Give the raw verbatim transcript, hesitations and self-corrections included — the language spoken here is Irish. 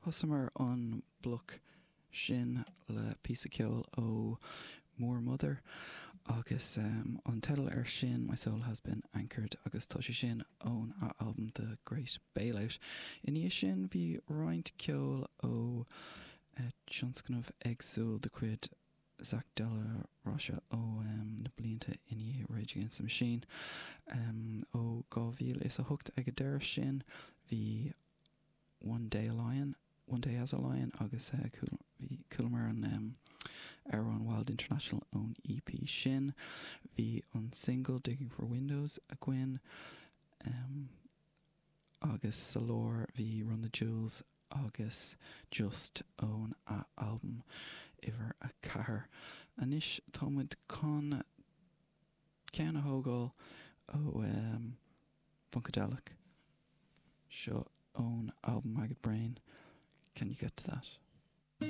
Thosaíomar an bloc sin le píosa ceoil ó Moor Mother agus um, an teideal air sin My Soul Has Been Anchored agus tá sé sin ón albam The Great Bailout. Ina dhiaidh sin bhí roinnt ceoil ó uh, tionscnamh éagsúil de chuid Zack de la Rocha ó um, na blianta i ndiaidh Rage Against the Machine. Um, ó dhá mhíle is a hocht ag an deireadh sin bhí One Day a Lion, One Day as a Lion agus uh, bhí chualamar an um, amhrán Wild International ón EP sin, bhí an single Digging for Windows againn um, agus sa lár bhí Run the Jewels agus Just ón a album uimhir a ceathair. Anois táimid chun ceann a thógáil ó um, Funkadelic seo ón album Maggot Brain. Can you get to that?